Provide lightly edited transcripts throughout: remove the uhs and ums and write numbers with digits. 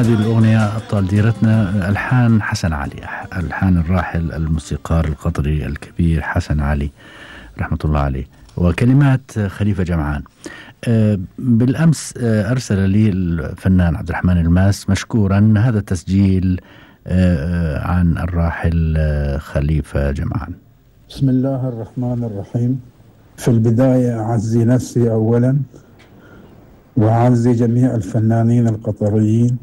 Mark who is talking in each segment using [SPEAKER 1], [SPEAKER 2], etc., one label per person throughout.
[SPEAKER 1] هذه الأغنية أبطال ديرتنا ألحان حسن علي، ألحان الراحل الموسيقار القطري الكبير حسن علي رحمة الله عليه، وكلمات خليفة جمعان. بالأمس أرسل لي الفنان عبد الرحمن الماس مشكورا هذا التسجيل عن الراحل خليفة جمعان.
[SPEAKER 2] بسم الله الرحمن الرحيم. في البداية أعزي نفسي أولا، وأعزي جميع الفنانين القطريين،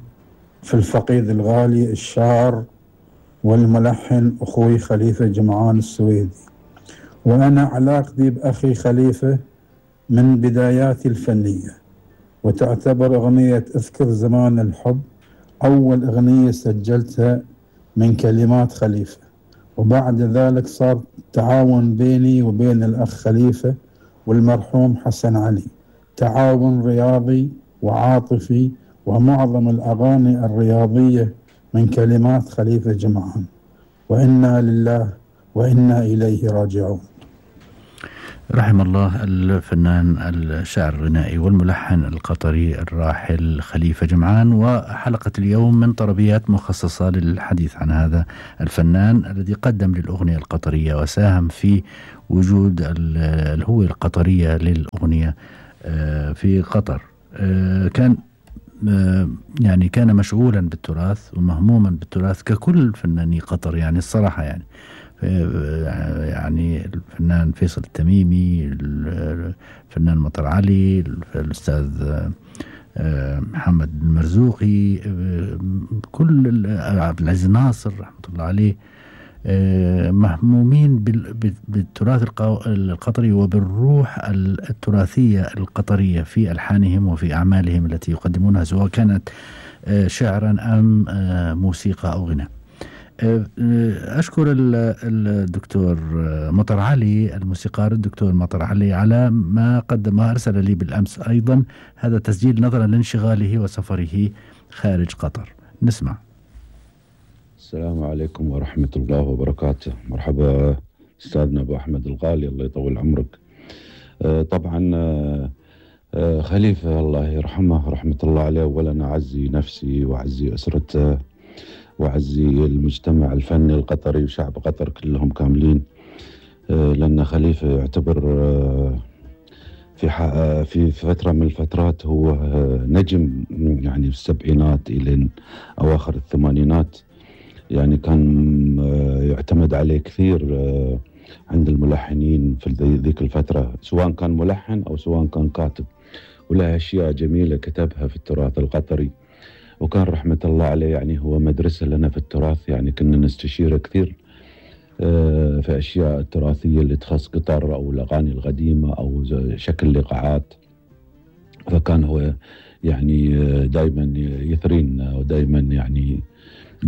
[SPEAKER 2] في الفقيد الغالي الشاعر والملحن أخوي خليفة جمعان السويدي. وأنا علاقتي بأخي خليفة من بداياتي الفنية، وتعتبر أغنية أذكر زمان الحب أول أغنية سجلتها من كلمات خليفة، وبعد ذلك صار تعاون بيني وبين الأخ خليفة والمرحوم حسن علي، تعاون رياضي وعاطفي، ومعظم الأغاني الرياضية من كلمات خليفة جمعان، وإنا لله وإنا إليه راجعون.
[SPEAKER 1] رحم الله الفنان الشاعر الغنائي والملحن القطري الراحل خليفة جمعان. وحلقة اليوم من طربيات مخصصة للحديث عن هذا الفنان الذي قدم للأغنية القطرية وساهم في وجود الهوية القطرية للأغنية في قطر. كان يعني كان مشغولا بالتراث ومهموما بالتراث ككل فناني قطر، يعني الصراحة يعني الفنان فيصل التميمي، الفنان مطر علي، الأستاذ محمد المرزوقي، كل عبد العزيز ناصر رحمة الله عليه مهمومين بالتراث القطري وبالروح التراثية القطرية في ألحانهم وفي أعمالهم التي يقدمونها، سواء كانت شعرا أم موسيقى أو غناء. أشكر الدكتور مطر علي، الموسيقار الدكتور مطر علي، على ما قدمه. أرسل لي بالأمس أيضا هذا تسجيل نظرا لانشغاله وسفره خارج قطر. نسمع.
[SPEAKER 3] السلام عليكم ورحمة الله وبركاته. مرحبا أستاذنا أبو أحمد الغالي، الله يطول عمرك. طبعا خليفة الله يرحمه رحمة الله عليه، أولا أعزي نفسي وأعزي أسرته وأعزي المجتمع الفني القطري وشعب قطر كلهم كاملين، لأن خليفة يعتبر في فترة من الفترات هو نجم، يعني في السبعينات إلى أواخر الثمانينات، يعني كان يعتمد عليه كثير عند الملحنين في ذيك الفترة، سواء كان ملحن أو سواء كان كاتب، وله أشياء جميلة كتبها في التراث القطري، وكان رحمة الله عليه يعني هو مدرسة لنا في التراث، يعني كنا نستشيره كثير في أشياء التراثية اللي تخص قطر أو الأغاني القديمة أو شكل لقاعات، فكان هو يعني دايما يثرينا ودايما يعني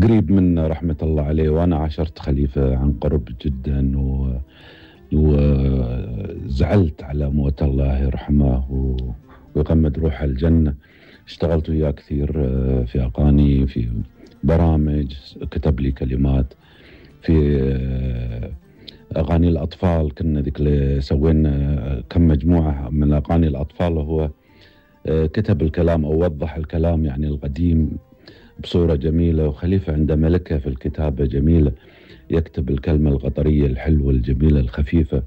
[SPEAKER 3] قريب منا رحمة الله عليه. وأنا عاشرت خليفة عن قرب جدا وزعلت على موت الله يرحمه ويغمد روحه الجنة. اشتغلت وياه كثير في أغاني، في برامج، كتب لي كلمات في أغاني الأطفال، كنا ذيك اللي سوينا كم مجموعة من أغاني الأطفال، وهو كتب الكلام أو وضح الكلام يعني القديم بصورة جميلة. وخليفة عنده ملكة في الكتابة جميلة، يكتب الكلمة القطرية الحلوة الجميلة الخفيفة.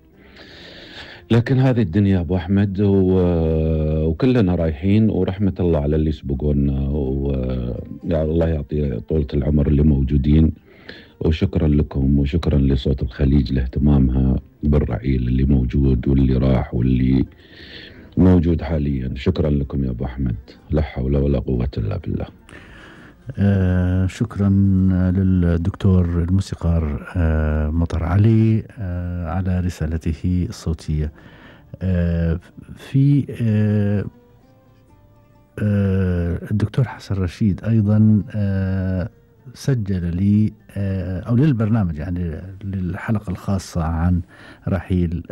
[SPEAKER 3] لكن هذه الدنيا أبو أحمد وكلنا رايحين، ورحمة الله على اللي يسبقونا، ويا الله يعطي طولة العمر اللي موجودين. وشكرا لكم وشكرا لصوت الخليج لاهتمامها بالرعيل اللي موجود واللي راح واللي موجود حاليا. شكرا لكم يا أبو أحمد، لا حول ولا قوة إلا بالله.
[SPEAKER 1] شكرا للدكتور الموسيقار مطر علي على رسالته الصوتية. في الدكتور حسن رشيد أيضا سجل لي أو للبرنامج، يعني للحلقة الخاصة عن رحيل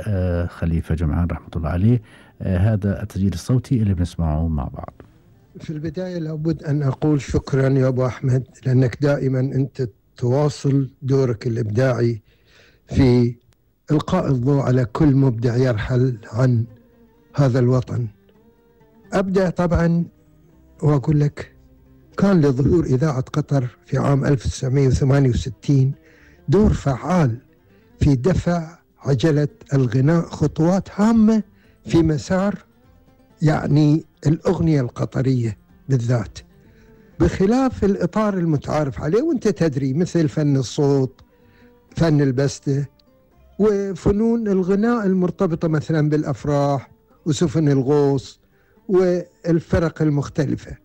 [SPEAKER 1] خليفة جمعان رحمة الله عليه، هذا التسجيل الصوتي اللي بنسمعه مع بعض.
[SPEAKER 4] في البداية لابد أن أقول شكرا يا أبو أحمد، لأنك دائما أنت تواصل دورك الإبداعي في إلقاء الضوء على كل مبدع يرحل عن هذا الوطن. أبدأ طبعا وأقول لك كان لظهور إذاعة قطر في عام 1968 دور فعال في دفع عجلة الغناء خطوات هامة في مسار يعني الأغنية القطرية بالذات، بخلاف الإطار المتعارف عليه وانت تدري مثل فن الصوت، فن البستة، وفنون الغناء المرتبطة مثلا بالأفراح وسفن الغوص والفرق المختلفة.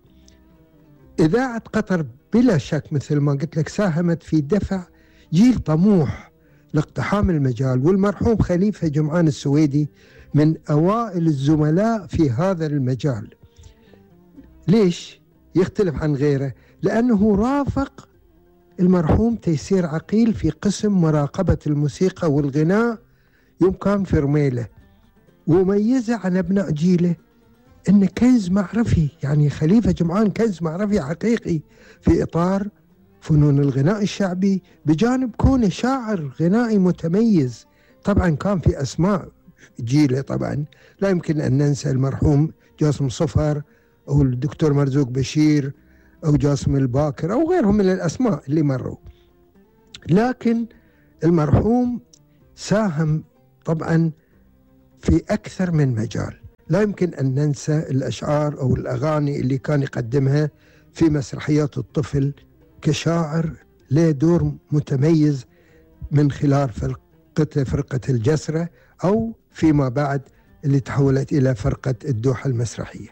[SPEAKER 4] إذاعة قطر بلا شك مثل ما قلت لك ساهمت في دفع جيل طموح لاقتحام المجال، والمرحوم خليفة جمعان السويدي من أوائل الزملاء في هذا المجال. ليش يختلف عن غيره؟ لأنه رافق المرحوم تيسير عقيل في قسم مراقبة الموسيقى والغناء يوم كان في رميلة، وميزه عن أبناء جيله إنه كنز معرفي، يعني خليفة جمعان كنز معرفي حقيقي في إطار فنون الغناء الشعبي، بجانب كونه شاعر غنائي متميز. طبعا كان في أسماء جيله طبعا لا يمكن أن ننسى المرحوم جاسم صفر أو الدكتور مرزوق بشير أو جاسم الباكر أو غيرهم من الأسماء اللي مروا، لكن المرحوم ساهم طبعا في أكثر من مجال. لا يمكن أن ننسى الأشعار أو الأغاني اللي كان يقدمها في مسرحيات الطفل كشاعر، له دور متميز من خلال فرقة الجسرة أو فيما بعد اللي تحولت إلى فرقة الدوحة المسرحية.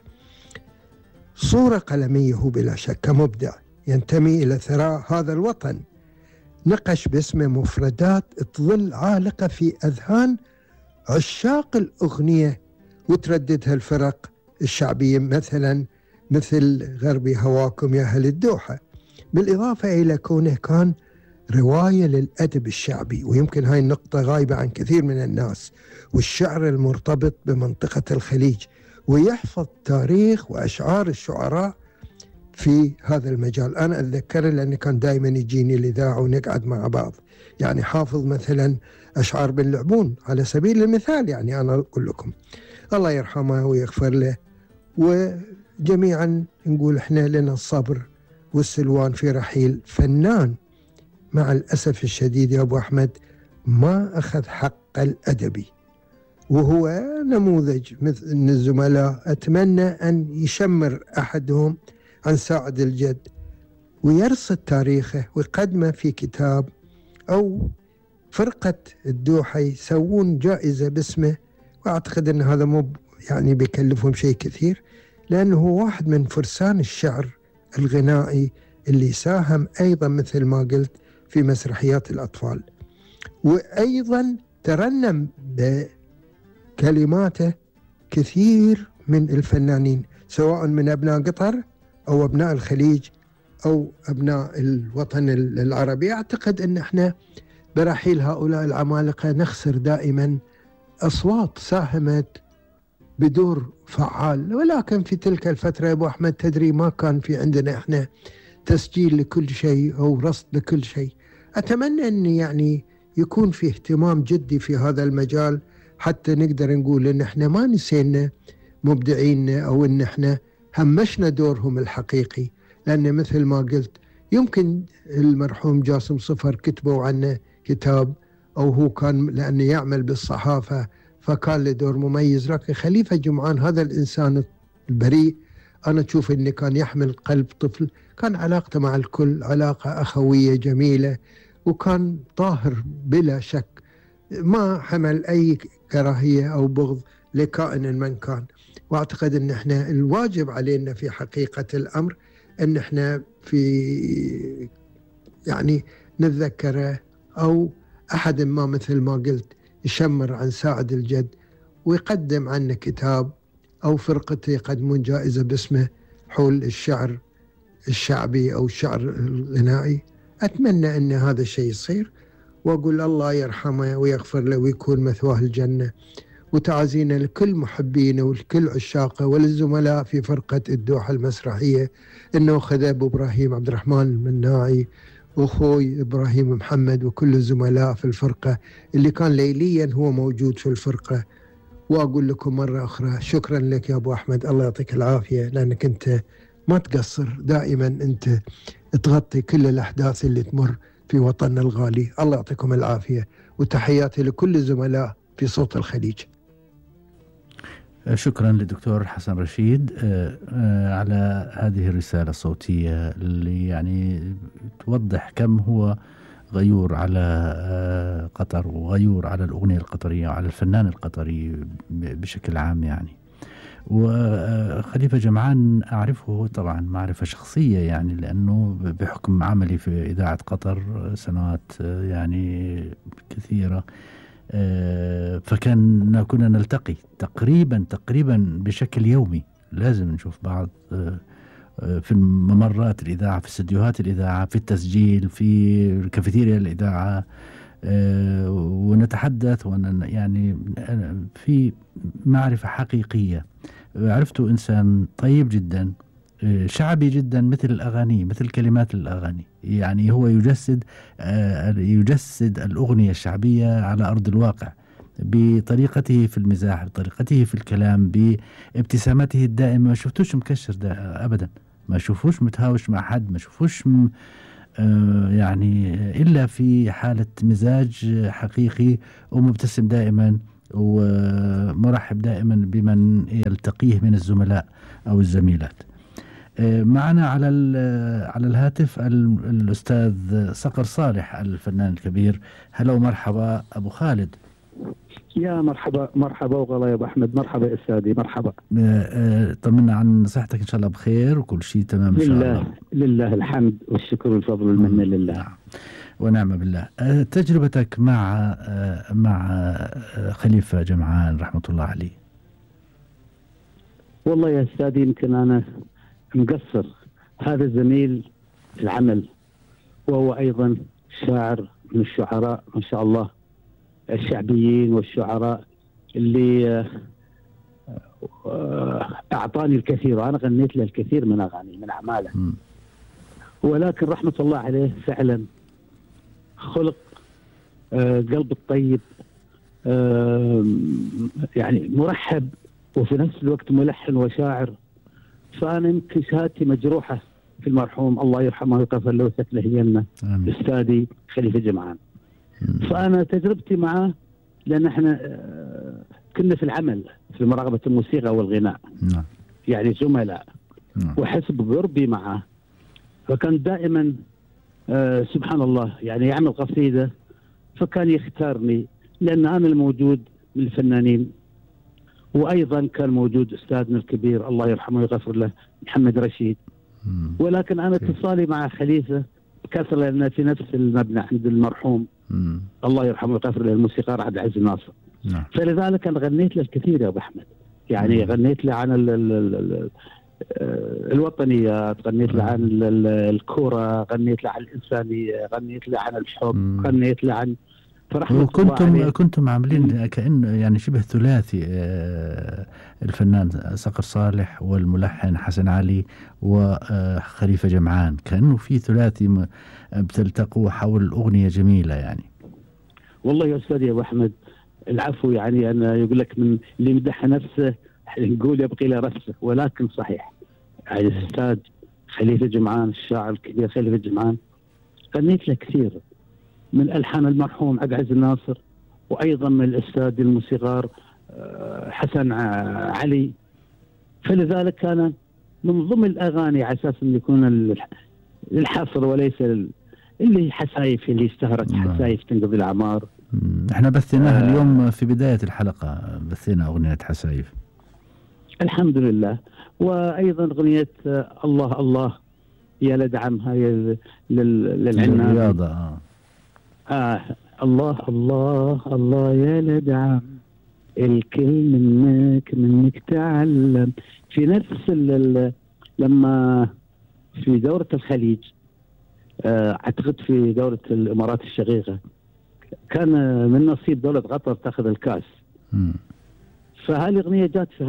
[SPEAKER 4] صورة قلمية هو بلا شك كمبدع ينتمي إلى ثراء هذا الوطن، نقش باسمه مفردات تظل عالقة في أذهان عشاق الأغنية وترددها الفرق الشعبية مثلا مثل غربي هواكم يا أهل الدوحة، بالإضافة إلى كونه كان رواية للأدب الشعبي، ويمكن هاي النقطة غايبة عن كثير من الناس، والشعر المرتبط بمنطقة الخليج، ويحفظ تاريخ وأشعار الشعراء في هذا المجال. أنا أتذكره لأنه كان دائما يجيني الإذاعة ونقعد مع بعض، يعني حافظ مثلا أشعار بن لعبون على سبيل المثال، يعني أنا أقول لكم الله يرحمه ويغفر له، وجميعا نقول إحنا لنا الصبر والسلوان في رحيل فنان مع الأسف الشديد يا أبو أحمد ما أخذ حق الأدبي، وهو نموذج من الزملاء أتمنى أن يشمر أحدهم عن ساعد الجد ويرصد تاريخه ويقدمه في كتاب، أو فرقة الدوحة يسوون جائزة باسمه، وأعتقد أن هذا مو يعني بيكلفهم شيء كثير، لأنه هو واحد من فرسان الشعر الغنائي اللي ساهم أيضا مثل ما قلت في مسرحيات الأطفال، وأيضا ترنم بكلماته كثير من الفنانين سواء من أبناء قطر أو أبناء الخليج أو أبناء الوطن العربي. أعتقد أن احنا برحيل هؤلاء العمالقة نخسر دائما أصوات ساهمت بدور فعال، ولكن في تلك الفترة يا أبو أحمد تدري ما كان في عندنا احنا تسجيل لكل شيء أو رصد لكل شيء. أتمنى أن يعني يكون في اهتمام جدي في هذا المجال حتى نقدر نقول أن احنا ما نسينا مبدعيننا أو أن احنا همشنا دورهم الحقيقي، لأن مثل ما قلت يمكن المرحوم جاسم صفر كتبوا عنه كتاب أو هو كان لأنه يعمل بالصحافة فكان له دور مميز، لكن خليفة جمعان هذا الإنسان البريء أنا أشوف أنه كان يحمل قلب طفل، كان علاقته مع الكل علاقة أخوية جميلة، وكان طاهر بلا شك، ما حمل أي كراهية أو بغض لكائن من كان. وأعتقد أن احنا الواجب علينا في حقيقة الأمر أن احنا في يعني نتذكره، أو أحد ما مثل ما قلت يشمر عن ساعد الجد ويقدم عنه كتاب، أو فرقته يقدمون جائزة باسمه حول الشعر الشعبي أو الشعر الغنائي. أتمنى أن هذا الشيء يصير، وأقول الله يرحمه ويغفر له ويكون مثواه الجنة، وتعازينا لكل محبينه ولكل عشاقه وللزملاء في فرقة الدوحة المسرحية، إنه خذ أبو إبراهيم عبد الرحمن المناعي وأخوي إبراهيم محمد وكل الزملاء في الفرقة اللي كان ليليا هو موجود في الفرقة. وأقول لكم مرة أخرى شكرا لك يا أبو أحمد، الله يعطيك العافية، لأنك أنت ما تقصر، دائما أنت تغطي كل الأحداث اللي تمر في وطننا الغالي. الله يعطيكم العافية، وتحياتي لكل الزملاء في صوت الخليج.
[SPEAKER 1] شكرا للدكتور حسن رشيد على هذه الرسالة الصوتية اللي يعني توضح كم هو غيور على قطر، وغيور على الأغنية القطرية وعلى الفنان القطري بشكل عام يعني. وخليفة جمعان أعرفه طبعا معرفة شخصية يعني، لأنه بحكم عملي في إذاعة قطر سنوات يعني كثيرة، كنا نلتقي تقريبا بشكل يومي، لازم نشوف بعض في ممرات الإذاعة، في استديوهات الإذاعة، في التسجيل، في كافيتيريا الإذاعة، ونتحدث يعني في معرفة حقيقية. عرفته إنسان طيب جدا، شعبي جدا، مثل الأغاني، مثل كلمات الأغاني، يعني هو يجسد الأغنية الشعبية على أرض الواقع بطريقته في المزاح، بطريقته في الكلام، بابتسامته الدائمة. ما شفتوش مكشر أبدا، ما شوفوش متهاوش مع حد، ما شوفوش يعني إلا في حالة مزاج حقيقي، ومبتسم دائما ومرحب دائما بمن يلتقيه من الزملاء أو الزميلات. معنا على الهاتف الأستاذ صقر صالح الفنان الكبير. هلا ومرحبا أبو خالد.
[SPEAKER 5] يا مرحبا وغلا يا أبو أحمد. مرحبا يا أستاذي، مرحبا.
[SPEAKER 1] طمنا عن صحتك، إن شاء الله بخير وكل شيء تمام إن شاء الله.
[SPEAKER 5] لله الحمد والشكر والفضل والمنة لله
[SPEAKER 1] ونعم بالله. تجربتك مع خليفة جمعان رحمة الله عليه.
[SPEAKER 5] والله يا أستاذي يمكن أنا مقصر، هذا زميل في العمل، وهو أيضا شاعر من الشعراء ما شاء الله الشعبيين والشعراء اللي أعطاني الكثير، وأنا غنيت له الكثير من أغاني من أعماله. ولكن رحمة الله عليه فعلا خلق قلب الطيب، يعني مرحب وفي نفس الوقت ملحن وشاعر. فأنا يمكن شهادتي مجروحة في المرحوم، الله يرحمه ويغفر له ويسكنه الجنة، أستاذي خليفة جمعان. فأنا تجربتي معه لأن احنا كنا في العمل في مراقبة الموسيقى والغناء، يعني زملاء، وحسب قربي معه فكان دائما سبحان الله يعني يعمل قصيدة فكان يختارني، لأن أنا الموجود من الفنانين. وأيضا كان موجود أستاذنا الكبير الله يرحمه ويغفر له محمد رشيد. ولكن أنا اتصالي مع خليفة كثر، لأن في نفس المبنى عند المرحوم الله يرحمه ويغفر له الموسيقار عبد العزيز الناصر. فلذلك أنا غنيت له الكثير يا أبو أحمد، يعني غنيت له عن الوطنيات، غنيت له عن الكرة، غنيت له عن الإنسانية، غنيت له عن الحب، غنيت له عن
[SPEAKER 1] كنتم عاملين كأنه يعني شبه ثلاثي، الفنان صقر صالح والملحن حسن علي وخليفة جمعان، كأنه في ثلاثي بتلتقوا حول أغنية جميلة يعني.
[SPEAKER 5] والله يا أستاذ يا أبو أحمد العفو، يعني أنا يقول لك من اللي يمدح نفسه نقول يبقي له رفسه، ولكن صحيح يعني الأستاذ خليفة جمعان الشاعر الكبير خليفة جمعان غنيت له كثير من ألحان المرحوم عبد العزيز الناصر، وأيضا من الأستاذ الموسيقار حسن علي. فلذلك كان من ضمن الأغاني على أساس أن يكون الحصر وليس اللي حسايف اللي اشتهرت حسايف تنقضي الأعمار.
[SPEAKER 1] احنا بثيناها اليوم في بداية الحلقة، بثينا أغنية حسايف
[SPEAKER 5] الحمد لله. وأيضا أغنية الله الله يا لدعم هاي للعنان
[SPEAKER 1] الرياضة.
[SPEAKER 5] الله الله الله يا لدعم الكل منك تعلم. في نفس لما في دورة الخليج اعتقد في دورة الامارات الشقيقة كان من نصيب دولة قطر تاخذ الكاس. فهذه الأغنية جات في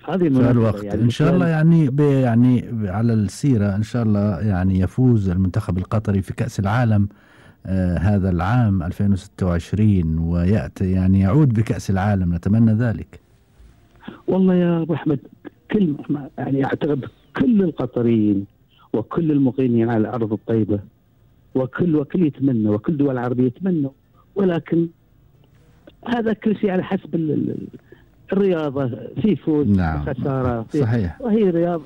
[SPEAKER 5] هذه
[SPEAKER 1] الوقت يعني إن شاء الله يعني على السيرة إن شاء الله يعني يفوز المنتخب القطري في كأس العالم هذا العام 2026 ويأتي يعني يعود بكأس العالم، نتمنى ذلك.
[SPEAKER 5] والله يا أبو أحمد كلمة يعني أعتقد كل القطريين وكل المقيمين على الأرض الطيبة وكل يتمنى، وكل دول العربية يتمنوا، ولكن هذا كل شيء على حسب الرياضة، في فوز وخسارة.
[SPEAKER 1] صحيح.
[SPEAKER 5] وهي رياضة.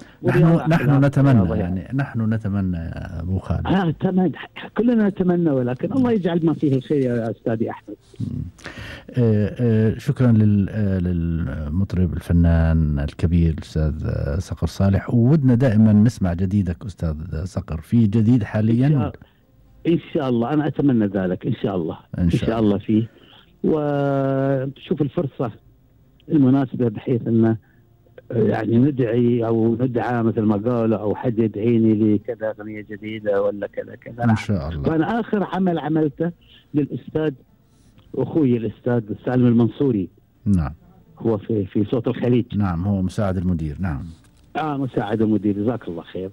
[SPEAKER 1] نحن نتمنى يعني نحن نتمنى يا أبو خالد.
[SPEAKER 5] كلنا نتمنى، ولكن الله يجعل ما فيه الخير يا أستاذي أحمد.
[SPEAKER 1] شكرا للمطرب الفنان الكبير الأستاذ صقر صالح، وودنا دائما نسمع جديدك أستاذ صقر، في جديد حاليا
[SPEAKER 5] إن شاء الله. أنا أتمنى ذلك إن شاء الله. إن شاء الله فيه، وشوف الفرصة المناسبة بحيث أن يعني ندعي أو ندعى مثل ما قالوا، أو حد يدعيني لكذا أغنية جديدة ولا كذا كذا
[SPEAKER 1] إن شاء الله.
[SPEAKER 5] وأنا آخر عمل عملته للأستاذ أخوي الأستاذ سالم المنصوري.
[SPEAKER 1] نعم.
[SPEAKER 5] هو في صوت الخليج.
[SPEAKER 1] نعم، هو مساعد المدير. نعم.
[SPEAKER 5] مساعد المدير، جزاك الله خير.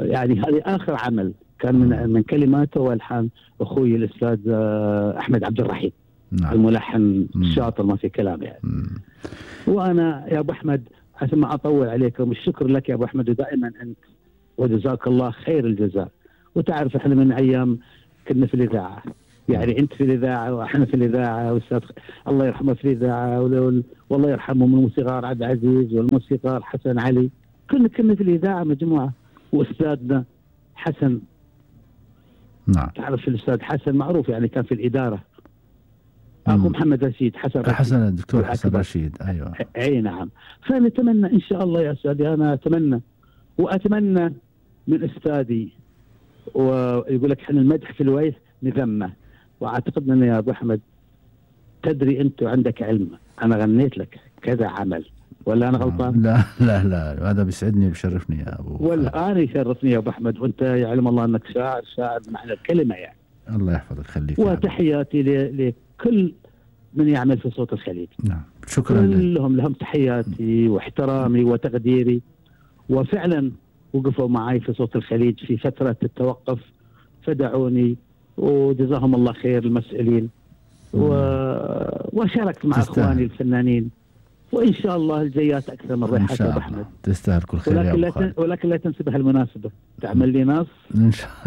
[SPEAKER 5] يعني هذه آخر عمل كان من كلماته والحان أخوي الأستاذ أحمد عبد الرحيم. نعم. الملحن الشاطر ما في كلام يعني. وأنا يا أبو أحمد عشان ما أطول عليكم، الشكر لك يا أبو أحمد، ودائما أنت وجزاك الله خير الجزاء. وتعرف إحنا من أيام كنا في الإذاعة، يعني أنت في الإذاعة وإحنا في الإذاعة، والأستاذ الله يرحمه في الإذاعة، والله يرحمه من الموسيقار عبد العزيز والموسيقار حسن علي، كنا في الإذاعة مجموعة. وأستاذنا حسن.
[SPEAKER 1] نعم.
[SPEAKER 5] تعرف الأستاذ حسن معروف يعني كان في الإدارة. أخو محمد رشيد حسن
[SPEAKER 1] الدكتور حسن رشيد. أيوة.
[SPEAKER 5] أي نعم. فنتمنى إن شاء الله يا أستاذي، أنا أتمنى وأتمنى من أستاذي، ويقول لك إحنا المدح في الويس نذمه، وأعتقد أن يا أبو أحمد تدري أنت وعندك علم، أنا غنيت لك كذا عمل ولا أنا غلطان؟
[SPEAKER 1] لا لا لا، هذا بيسعدني وبيشرفني يا أبو.
[SPEAKER 5] ولا أنا يشرفني يا أبو أحمد، وأنت يعلم الله أنك شاعر معنى الكلمة يعني.
[SPEAKER 1] الله يحفظك، خليك.
[SPEAKER 5] وتحياتي لكل من يعمل في صوت الخليج.
[SPEAKER 1] نعم، شكرا
[SPEAKER 5] لهم تحياتي واحترامي وتقديري، وفعلا وقفوا معي في صوت الخليج في فترة التوقف، فدعوني وجزاهم الله خير المسؤولين، وشاركت مع اخواني الفنانين، وان شاء الله الجيات اكثر من ريحات يا احمد.
[SPEAKER 1] تستاهل كل خير يا ابو خالد.
[SPEAKER 5] ولكن لا تنسى بهالمناسبة تعمل لي نص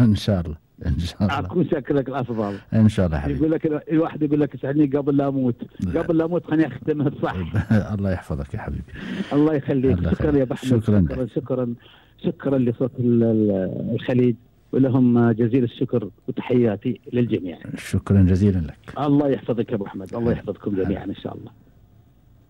[SPEAKER 1] ان شاء الله. ان شاء الله
[SPEAKER 5] اكون شاكر لك الافضل
[SPEAKER 1] ان شاء الله حبيبي.
[SPEAKER 5] يقول لك الواحد يقول لك اسعدني قبل لا اموت، قبل لا اموت خليني اختمها صح.
[SPEAKER 1] الله يحفظك يا حبيبي.
[SPEAKER 5] الله يخليك. شكرا يا ابو احمد. شكرا لصوت الخليج، ولهم جزيل الشكر وتحياتي للجميع.
[SPEAKER 1] شكرا جزيلا لك.
[SPEAKER 5] الله يحفظك يا ابو احمد، الله يحفظكم جميعا ان شاء الله.